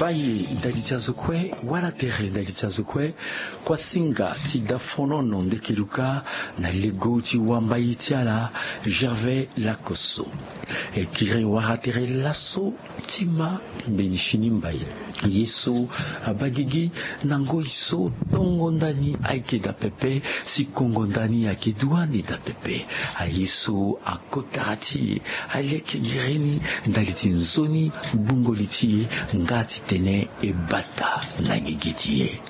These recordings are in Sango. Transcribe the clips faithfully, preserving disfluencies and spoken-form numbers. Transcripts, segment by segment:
Mbaye ndali ti azo kue, wala tere ndali ti azo kue. Kuasinga ti dafonono ndeke luka na lego ti wambai ti ala, Gervais Lakoso. E kiri wara tere laso ti ma mbeni fini mbaye. Ye so abaa gigi na ngoi so tongo ndani ayeke daa pepe, si kongo ndani ayeke duani daa pepe. Aye so akotara ti e aleke gere ni ndali ti nzoni gbungo li ti e nga ti tene e bata na gigi ti e.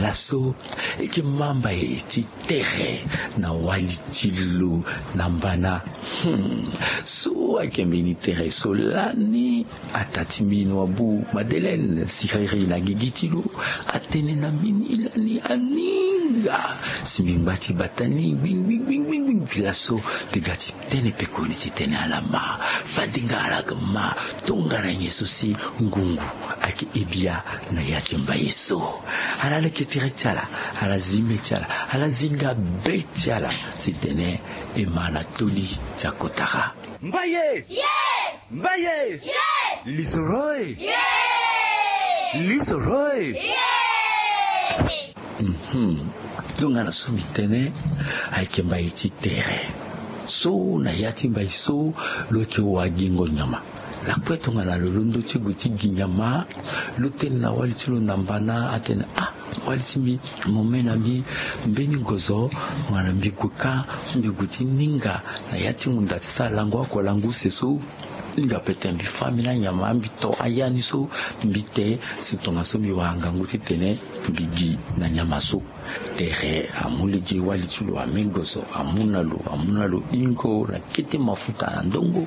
Laso e yeke ma mbaye ti tere na wali ti lo na mbana. Hmm. So ayeke mbeni tere so lani, ataa ti mbi noabu Madeleine siriri na gigi ti lo, atene na mbi ni lani aninga. Si mbi ngba ti bata ni gbingbi gbingbi gbingbi laso, mbi ga ti tene pekoni ti tene ala ma. Fade nga ala ga ma, tongana nyen so si ngungu ayeke he bia na ya ti mbaye so. Ala leke tere ti ala, ala zi me ti ala, ala zinga be ti ala, si tene e ma na toli ti akotara. Mbaye! Ye! Mbaye! Ye! Lisoro e! Ye! Lisoro e! Ye! Mhm. Tongana so mbi tene, ayeke mbaye ti tere. So na ya ti mbaye so, lo yeke wagingo nyama. Lakue tongana lo londo ti gue ti gi nyama, lo tene na wali ti lo na mbana, atene, ah, wali ti mbi, mo me na mbi mbeni gozo, tongana mbi gue ka, mbi gue ti ninga na ya ti ngunda ti sara lango oko lango use so. Hinga pete mbi fâ mbeni anyama, mbi to aya ni so, mbi te, si tongaso mbi wara ngangu ti tene mbi gi na nyama so. Tere amu lege wali ti lo ame gozo, amu na lo, amu na lo hingo na kete mafuta na ndongo.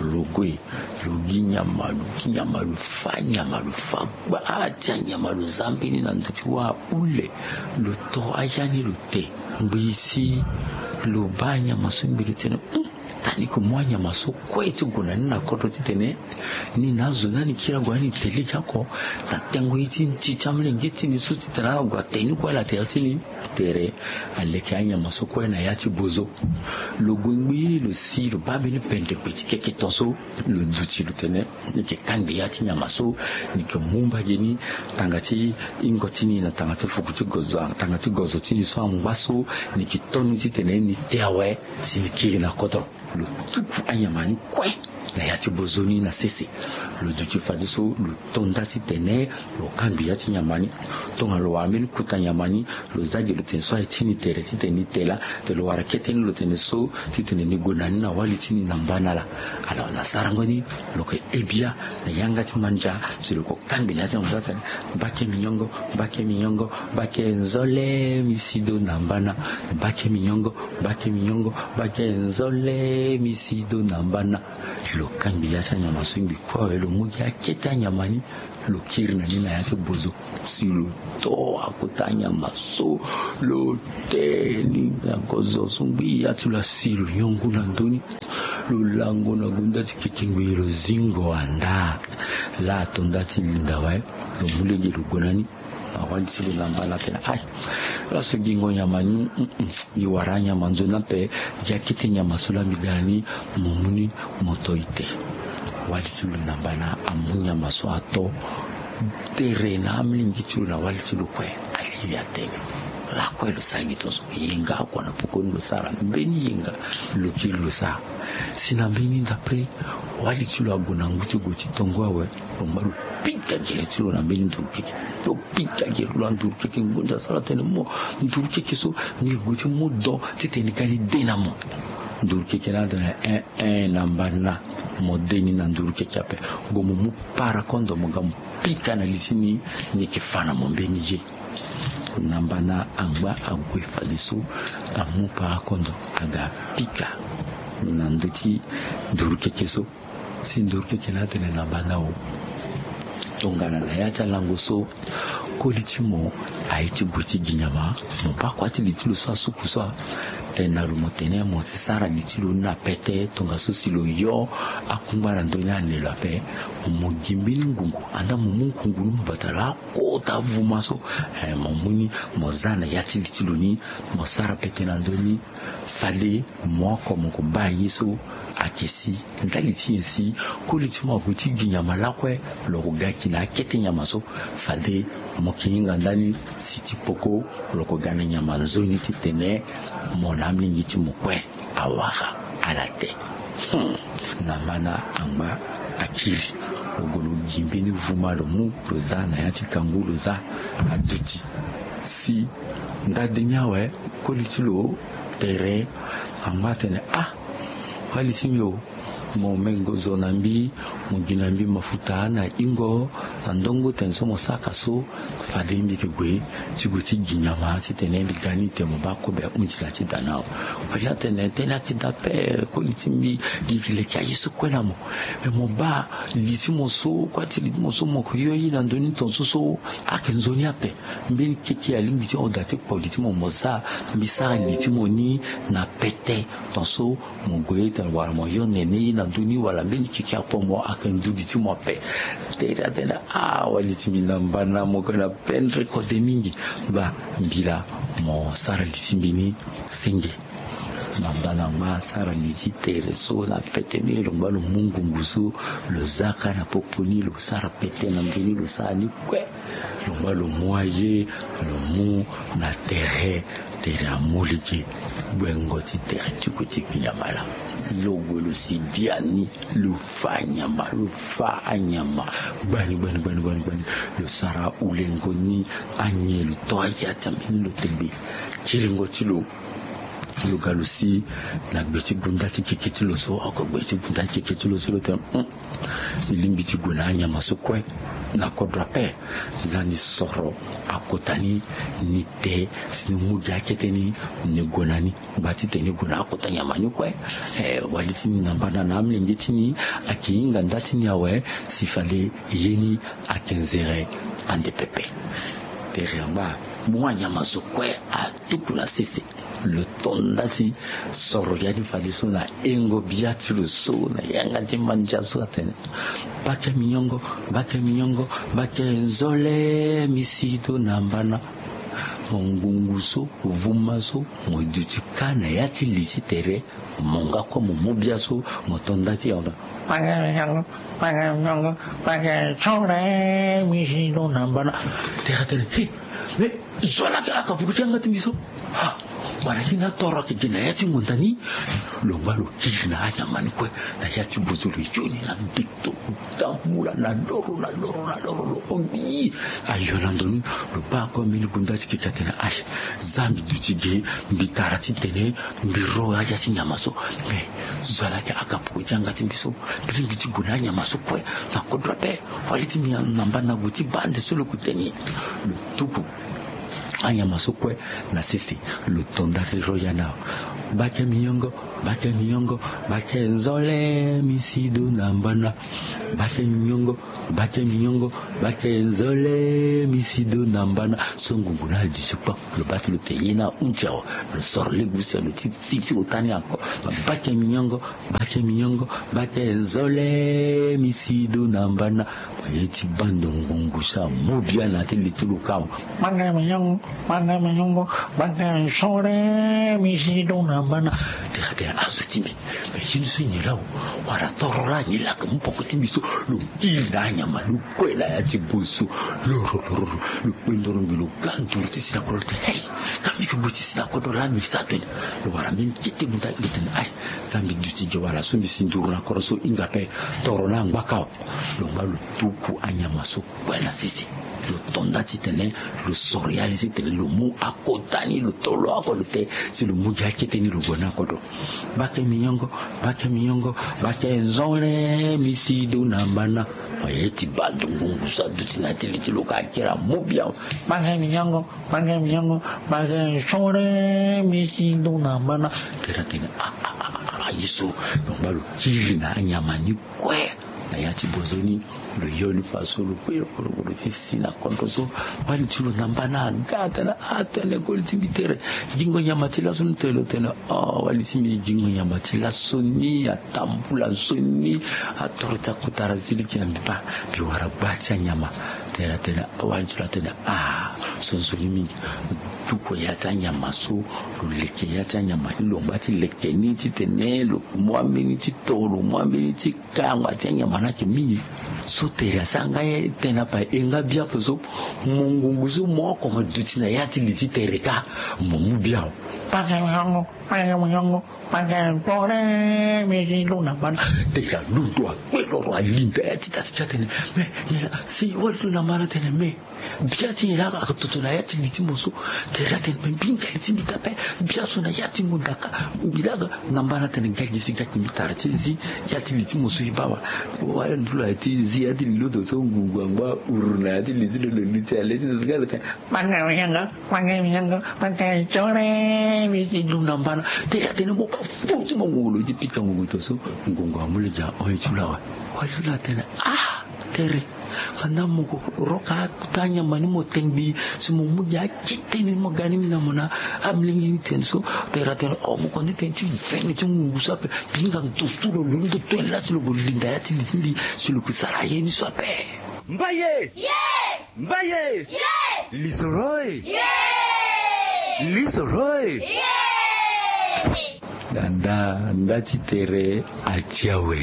Lo gue, lo gi nyama, lo gi nyama, lo fâ nyama, lo fâ gbaa ti anyama, lo za mbeni na ndö ti wâ ahule. Lo to aya ni lo te. Ngbii si lo baa anyama so, ngbii lo tene, hmm, tani ko mu anyama so kue ti gue na ni na kodro ti tene ni na azo ni ani kiri ague ani te lege oko na tengo ye ti nti ti amolenge ti ni so ti tene ala gue ate ni kue ala tere ti ni. Tere aleke anyama so kue na ya ti bozo. Lo gue ngbii lo si lo baa mbeni pendekpe ti keke ton so. Lo duti lo tene ni yeke kangbi ya ti nyama so, ni yeke mu mbage ni tanga ti hingo ti ni na tanga ti fuku ti gozo, tanga ti gozo ti ni so angba so, ni yeke to ni ti tene ni te awe, si ni kiri na kodro. Lo tuku anyama ni kue na ya ti bozo ni na sese. Lo duti fadeso lo to nda ti tene lo kangbi ya ti nyama ni. Tongana lo wara mbeni kota nyama ni, lo za gi lo tene so aye ti ni tere ti tene ni te laa. Te lo wara kete ni lo tene so ti tene ni gue na ni na wali ti ni na mbana laa. Alors na sarango ni lo yeke he bia na yanga ti mandia, si lo ko kangbi na ya ti nyama so atene: Mbake minyongo, mbake minyongo, mbake nzole mi sido na mbana. Mbake minyongo, mbake minyongo, mbake nzole mi sido na mbana. Lo kangbi ya ti anyama so ngbii kue awe, lo mu gi akete anyama ni, lo kiri na ni na ya ti bozo. Si lo to akota anyama so, lo te ni na gozo so ngbii, ya ti lo asi lo nyongo na ndö ni. Lo lango na gunda ti keke ngbii, lo zingo anda. Laa ato nda ti linda awe, lo mu lege lo gue na ni na wali ti lo na mbana atene: Ai, laso gingo nyama ni, mm, mm, mbi wara anyama nzoni ape. Gi akete nyama so laa mbi ga na ni, mo mu ni, mo to ite. Wali ti lo na mbana amu nyama so ato. Tere na amolenge ti lo na wali ti lo kue ali li atene. Lakue lo sara gi tongaso? Yenga oko na pokoni lo sara, mbeni yenga lo kiri lo sara. Si na mbeni ndapre, wali ti lo ague na ngu ti gue ti tongo awe, lo ngba lo pika gere ti lo na mbeni nduru keke. Lo pika gere lo na nduru keke, ngonda so ala tene mo nduru keke so, ni gue ti mu don ti tene ni ga ni de na mo. Nduru keke ni atene: Ein, ein, na mbana, mo de ni na nduru keke ape. Gue mo mu parakondo mo ga mo pika na li ti ni, ni yeke fâ na mo mbeni ye. Na mbana angba ague fadeso, amu parakondo aga pika na ndö ti nduru keke so. Si nduru keke ni atene na mbana o, tongana na ya ti alango so, koli ti mo aye ti gue ti gi nyama, mo baa kua ti li ti lo so asuku so a? na lo mo tene mo si sara li ti lo ni na pete tongaso si lo yo akungba na ndö ni ane lo ape. Mo gi mbeni ngungu andaa mo mu ngungu ni mo bata lo akota vuma so. Eh, mo mu ni mo za na ya ti li ti lo ni, mo sara pete na ndö ni. Fade mo oko mo ko baa ye so ayeke si ndali ti nyen si koli ti mo ague ti gi nyama lakue, lo ko ga gi na akete nyama so. Fade mo yeke hinga ndani si ti poko lo ko ga na nyama nzoni titene mo na amolenge ti mo kue awara ala te. Hmm. Na mana angba akiri, lo gue lo gi mbeni vuma lo mu lo za na ya ti kangu lo za aduti. Si ndade ni awe, koli ti lo tere angba atene ah, wali ti mbi o, mo mengo zo na mbi, mo gi na mbi mafuta na hingo na ndongo tene so mo saka so. Fade mbi yeke gue ti gue ti gi nyama titene mbi ga ni tene mo baa kobe ahunzi na ti da ni awe. Wali atene tënë ayeke daa ape, koli ti mbi, mbi yeke leke aye so kue na mo. Me mo baa li ti mo so, kua ti li ti mo so mo yeke yo ye na ndö ni tongaso so ayeke nzoni ape. Mbeni keke alingbi ti hon daa ti kpo li ti mo mo za, mbi sara li ti mo ni na pete tongaso mo gue tene wala mo yo nene ye na ndö ni wala mbeni keke akpo mo ayeke nduli ti mo ape. Tere atene ah, wali ti mbi na mbana mo yeke na pendre kode mingi. Baa mbi laa mo sara li ti mbi ni senge. Na mbana angba asara li ti tere so na pete mingi, lo ngba lo mu ngungu so lo za kâ na popo ni, lo sara pete na ndö ni, lo sara ni kue. Lo ngba lo mu aye, lo mu na tere, tere amu lege gbengo ti tere ti gue ti gi nyama laa. Lo gue lo si biani, lo fa anyama, lo fa anyama gbani gbani gbani gbani gbani. Lo sara ulengo ni, anyen lo to aya ti ambeni lo tembe. Kiringo ti lo, lo ga lo si na gbe ti gunda ti keke ti lo so. Oko gbe ti gunda ti keke ti lo so lo tene, hmm, e lingbi ti gue na anyama so kue na kodro ape. Nzani soro akota ni, ni te si ni mu gi akete ni, ni gue na ni. Ngba titene e gue na akota nyama ni kue. Eh, wali ti ni na mbana na amolenge ti ni ayeke hinga nda ti ni awe, si fade ye ni ayeke nzere ande pepe. Tere angba mu anyama so kue atuku na sese. Lo to nda ti soro ya ni fadeso na hengo bia ti lo so na yanga ti mandia so atene, bake minyongo, bake minyongo, bake nzole misido na mbana. Mo ngungu so, vuma so, mo duti kâ na ya ti li ti tere. Mo nga kue mo mu bia so, mo to nda ti yanga. Pake miongo, pake miongo, pake sore misido na mbana. Tere atene, he, me zo laa aka puku ti yanga ti mbi so. Ha, wala ye ni atoro ayeke gi na ya ti ngonda ni. Lo ngba lo kiri na anyama ni kue na ya ti bozo, lo yo ni na mbeto. Tambula na loro na loro na loro, lo hon mbi. Ayo na ndo ni, lo baa kue mbeni gunda ti keke atene, aye, za mbi duti ge, mbi tara titene mbi ro aya ti nyama so. Me zo laa aka puku ti yanga ti mbi so. Mbi lingbi ti gue na anyama so kue na kodro ape. Wali ti mbi na mbana gue ti baa nde so lo yeke tene. Lo tuku anyama so kue na sese, lo to nda ti ro ya ni awe. Bake minyongo, bake minyongo, bake nzole misido na mbana. Bake minyongo, bake minyongo, bake nzole misido na mbana. So ngungu ni aduti kpâ, lo baa ti lo tene ye ni ahunzi awe. Lo soro lege use, lo ti si ti ota ni ako. Bake minyongo, bake minyongo, bake nzole misido na mbana. Mo ye ti baa ndo ngungu so amu bia na ya ti li ti lo kâ awe. Bake minyongo, bake minyongo, bake nzole misido na mbana. Tere atene, azo ti mbi, me ye ni so nyen laa o? Wala toro laa nyen laa aka mu poko ti mbi so? Lo kiri na anyama ni kue na ya ti bozo. Loro loro, lo kpe ndoro ngi, lo ga nduru ti si na kodro, lo tene, hey, ka mbi yeke gue ti si na kodro laa mbi sa tene. Lo wara mbeni kete gunda, lo tene, aye, za mbi duti ge, wala so mbi si nduru na kodro so hinga ape. Toro ni angba kâ awe. Lo ngba lo tuku anyama so kue na sese. Lo to nda titene lo soro ya ni titene lo mu akota ni, lo to lo oko lo te si lo mu gi akete ni, lo gue na kodro. Bake minyongo, bake minyongo, bake nzole misido na mbana. Mo ye ti baa ndo ngungu so aduti na ya ti li ti lo kâ akiri amu bia. Bake minyongo, bake minyongo, bake nzole misido na mbana. Tere atene, ah, ah, ah, ah, ah, ye so. Lo ngba lo kiri na anyama ni kue. Na ya ti bozoni lo yo ni fa so lo kue lo kue lo ti si na kodro so. Wali ti lo na mbana aga atene ah tene koli ti mbi tere. Gingo nyama ti laso ni tene lo tene ah wali ti mbi gingo nyama ti laso ni atambula nsoni. Atoro ti akota ra zi liki na mbi baa mbi wara gba ti anyama. Tere atene wali ti lo atene ah so nsoni mingi. Tuko ya ti anyama so lo leke ya ti anyama ni lo ngba ti leke ni titene lo mu ambeni ti to lo mu ambeni ti kango ati anyama ni ayeke mingi. So tere asara nga ye tene apa e nga biape so mo ngungu so mo oko mo duti na ya ti li ti tere kâ. Mo mu biao. Pake mo yango pake mo yango pake tore mbi si lu na mbana. Tere alondo akue loro alinda ya ti tasi ti atene me nyen la si wali lu na mbana atene me bia ti nyen la aka toto na ya ti li ti mo so. Tere atene me mbi ngali ti mbi ta pe bia so na ya ti ngonda kâ. Mbi laa na mbana atene ngali gi si gaki mbi tara ti zi ya ti li ti mo so e baa wa. Wala ndulu aya ti zi ya ti li loto so ngungu angba uru na ya ti li ti lo lo li ti ale ti lo so gari atene manga mi yanga manga mi yanga manga mi tore mbi si lu na mbana. Tere atene mo baa fo ti mo ngungu lo ti pika ngungu to so. Ngungu amu lege ahon ye ti lo awe. Wali ti lo atene ah tere. Kanda mo ko roka ata nyama ni mo tengbi si mo mu gi akete ni mo ga ni mbi na mo na amolenge ni tene so. Tere atene o mo ko ni tene ti vene ti ngungu so ape. Mbi hinga ndo so lo lo ndo to ye lasi lo ko linda ya ti li ti mbi si lo ko sara ye ni so ape. Mbaye. Mbaye. Lisoro e. Lisoro e. Na nda nda ti tere ati awe.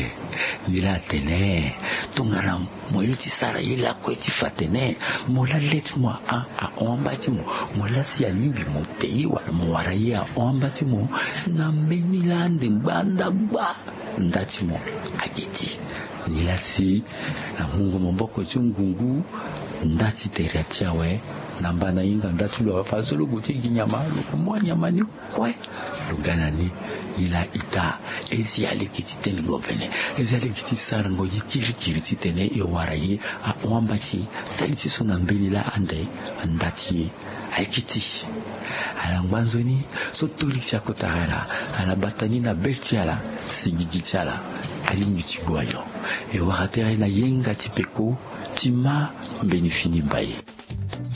Ye laa atene tongana mo ye ti sara ye lakue ti fa atene mo laa le ti mo ahon amba ti mo. Mo laa si alingbi mo te ye wala mo wara ye ahon amba ti mo. Na mbeni laa ande ngba nda gba nda ti mo. Ayeke ti ni laa si na mungo maboko ti ngungu. Nda ti tere ati awe. Na mbana hinga nda ti lo awe fa so lo gue ti gi nyama lo ko mu anyama ni kue. Lo ga na ni. Ni laa ita ezi aleke ti tenengo vene. Ezi aleke ti sarango ye kirikiri titene e wara ye ahon amba ti e. Ndali ti so na mbeni laa ande nda ti e. Ayeke ti ala ngba nzoni so toli ti akota ala ala bata ni na be ti ala. Si gigi ti ala alingbi ti gue ayo. E wara tere na yenga ti peko ti ma mbeni fini mbaye.